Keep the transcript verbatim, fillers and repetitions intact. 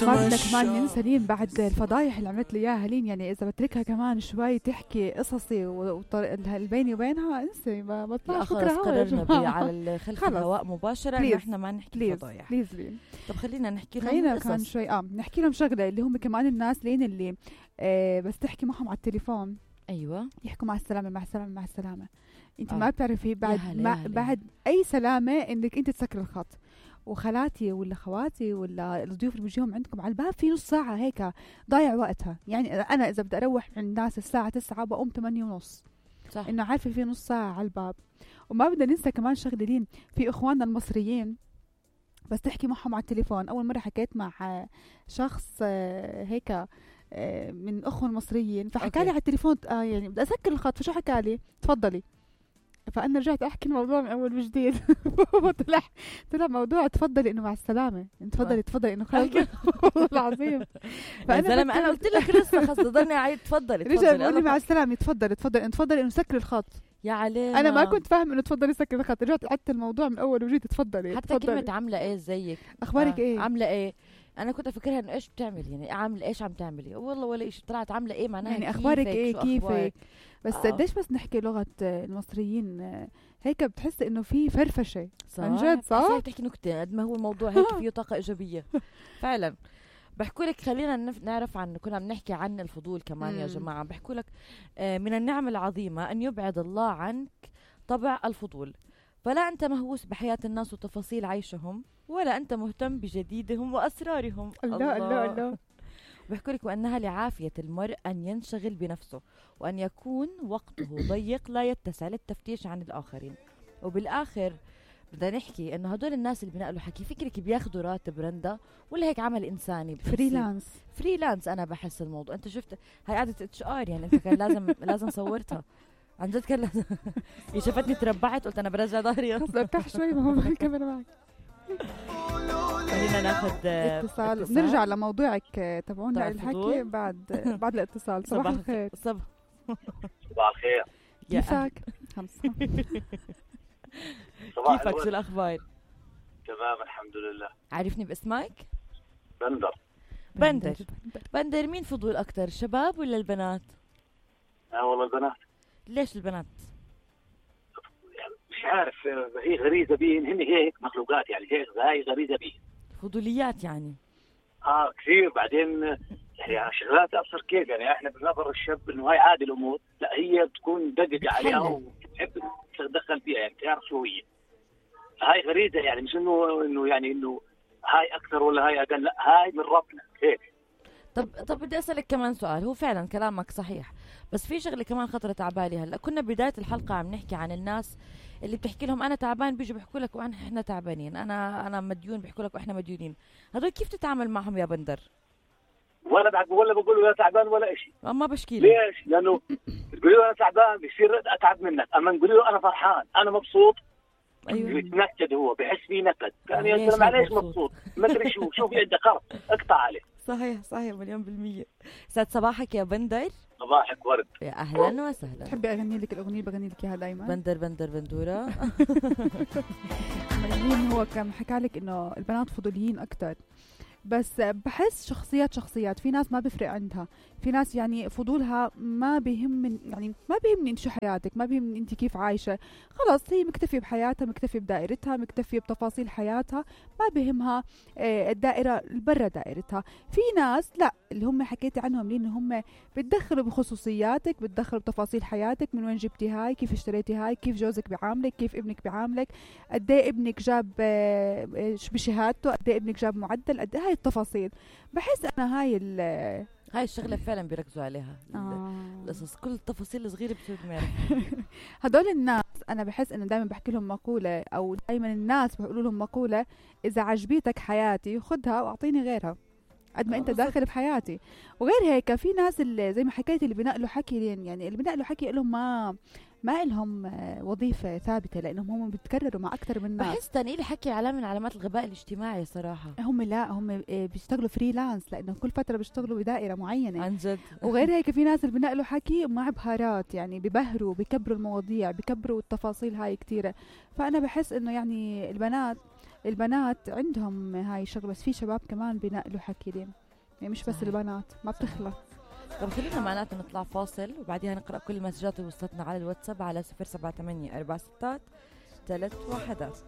بدنا كمان ننسى لين بعد الفضايح اللي عملت لي اياها لين، يعني اذا بتركها كمان شوي تحكي قصصي والبيني وبينها انسي ما بطلعش فكره. قررنا على خلف الهواء مباشره انه احنا ما نحكي فضايح. بليز لين. طب خلينا نحكي لهم خلينا كمان شوي اه نحكي لهم شغله اللي هم كمان الناس لين اللي آه بس تحكي معهم على التليفون ايوه يحكوا مع السلامه مع السلامه مع السلامه. انت آه. ما بتعرفي بعد ما بعد اي سلامه انك انت تسكر الخط. وخالاتي ولا خواتي ولا الضيوف اللي بيجيهم عندكم على الباب في نص ساعه هيك ضايع وقتها. يعني انا اذا بدي اروح عند الناس الساعه تسعة بقوم ثمانية ونص، صح. انه عارفه في نص ساعه على الباب. وما بدنا ننسى كمان شغله لين في اخواننا المصريين بس تحكي معهم على التليفون. اول مره حكيت مع شخص هيك من اخوه المصريين فحكى لي على التليفون آه يعني بدي اسكر الخط. فشو حكى لي؟ تفضلي. فانا رجعت احكي الموضوع من اول وجديد. طلع طلع موضوع تفضلي انه مع السلامه، تفضلي تفضلي انه خلص. والله العظيم فانا زلمه انا قلت لك لسه خلص ضلني اعيد تفضلي تفضلي. رجع بيقول لي مع السلامه تفضلي تفضلي تفضلي انه سكر الخط. يا علينا انا ما كنت فاهم انه تفضلي سكر الخط. رجعت عدت الموضوع من اول وجديد. تفضلي حتى تفضلي. كلمه عامله ايه زيك اخبارك آه. ايه عامله ايه. انا كنت افكرها انه ايش بتعمل يعني عامله ايش عم تعملي والله ولا شيء. طلعت عامله ايه معناها يعني اخبارك ايه كيفك. بس آه. قديش بس نحكي لغه المصريين هيك بتحس انه في فرفشه عن جد صح. بتحكي نكته قد ما هو الموضوع هيك فيه طاقه ايجابيه فعلا. بحكوا لك خلينا نعرف عن كنا بنحكي عن الفضول كمان. مم. يا جماعه بحكوا لك من النعم العظيمه ان يبعد الله عنك طبع الفضول. فلا أنت مهووس بحياة الناس وتفاصيل عيشهم ولا أنت مهتم بجديدهم وأسرارهم. الله الله الله. بحكوا لك وأنها لعافية المرء أن ينشغل بنفسه وأن يكون وقته ضيق لا يتسع للتفتيش عن الآخرين. وبالآخر بدنا نحكي إنه هدول الناس اللي بنقلوا حكي فكرك بياخدوا راتب رندا ولا هيك عمل إنساني فريلانس فريلانس. أنا بحس الموضوع أنت شفت هاي قاعدة اتش ار يعني أنت كان لازم لازم صورتها عن جد. كان لازم شفتني تربعت قلت انا برجع ظهري خلص ارتاح شوي ما هو الكاميرا معك. خلينا ناخذ اتصال. نرجع لموضوعك تبعونا الحكي بعد بعد الاتصال. صباح الخير. صباح صباح الخير. كيفك؟ خمسة. كيفك شو الاخبار؟ تمام الحمد لله. عارفني باسمك؟ بندر. بندر بندر مين فضول اكثر الشباب ولا البنات؟ اه والله البنات. ليش البنات؟ يعني مش عارف هي غريزة بيهم. هن هيك مخلوقات يعني هيك هاي غريزة بيهم. فضوليات يعني. اه كثير. بعدين يعني شغلات ابصر كيف يعني احنا بنظر الشاب انه هاي عادي الامور. لا هي بتكون دقق عليها وتحب تتدخل فيها يعني تعرف شو هي. هاي غريزة يعني مش انه انه يعني انه هاي اكثر ولا هاي اقل. لا هاي من ربنا هيك. طب طب بدي اسالك كمان سؤال. هو فعلا كلامك صحيح بس في شغله كمان خطرت على بالي هلا. كنا بدايه الحلقه عم نحكي عن الناس اللي بتحكي لهم انا تعبان بيجوا بيحكوا لك وانا احنا تعبانين. انا انا مديون بيحكوا لك واحنا مديونين. هذول كيف تتعامل معهم يا بندر؟ ولا بعد ولا بقول له تعبان ولا شيء. ما بشكي له. ليش؟ لانه تقولي له انا تعبان بيصير اتعب منك. اما نقول له انا فرحان انا مبسوط. ايوه بيتنكد هو بحس فيه نكد. كان يا زلمه معليش مبسوط ما ادري شو شو في عندك خرط اقطع عليه. صحيح صحيح مليون بالمية. سعد صباحك يا بندر. صباحك ورد. يا اهلا وسهلا. تحبي اغني لك الاغنيه بغني لك اياها دائما؟ بندر بندر بندوره. مين هو كان حكى لك انه البنات فضوليين اكثر. بس بحس شخصيات شخصيات. في ناس ما بيفرق عندها. في ناس يعني فضولها ما بيهم يعني ما بيهمني انت شو حياتك ما بيهمني انت كيف عايشة. خلاص هي مكتفية بحياتها مكتفية بدائرتها مكتفية بتفاصيل حياتها ما بيهمها الدائرة برا دائرتها. في ناس لا اللي هم حكيتي عنهم لين هم بتدخلوا بخصوصياتك بتدخلوا بتفاصيل حياتك. من وين جبتي هاي كيف اشتريتي هاي كيف جوزك بيعاملك كيف ابنك بيعاملك قد ايه ابنك جاب بشهادته قد ايه ابنك جاب معدل قد ايه هاي التفاصيل. بحس انا هاي هاي الشغله فعلا بيركزوا عليها. آه. القصص كل التفاصيل الصغيره بتصير دماغ. هدول الناس انا بحس انه دائما بحكي لهم مقوله او دائما الناس بيقولوا لهم مقوله اذا عجبيتك حياتي خدها واعطيني غيرها قد ما آه انت داخل بحياتي. وغير هيك في ناس اللي زي ما حكيت اللي بنقلوا حكي لين يعني اللي بنقلوا حكي لهم ما ما لهم وظيفة ثابتة لأنهم هم بيتكرروا مع أكثر من ناس. بحس تنقيل حكي علامة من علامات الغباء الاجتماعي صراحة. هم لا هم بيشتغلوا فريلانس لأنه كل فترة بيشتغلوا بدائرة معينة عن جد. وغير هيك في ناس اللي بنقلوا حكي مع بهارات يعني ببهروا بكبروا المواضيع بكبروا التفاصيل هاي كتيرة. فأنا بحس إنه يعني البنات البنات عندهم هاي الشغله، بس في شباب كمان بينقلوا حكي دين، يعني مش بس صحيح. البنات ما بتخلص. طب خلينا معناته نطلع فاصل وبعدها نقرأ كل المسجات اللي وصلتنا على الواتساب على صفر سبعة ثمانية أربعة ستة ثلاث واحدات.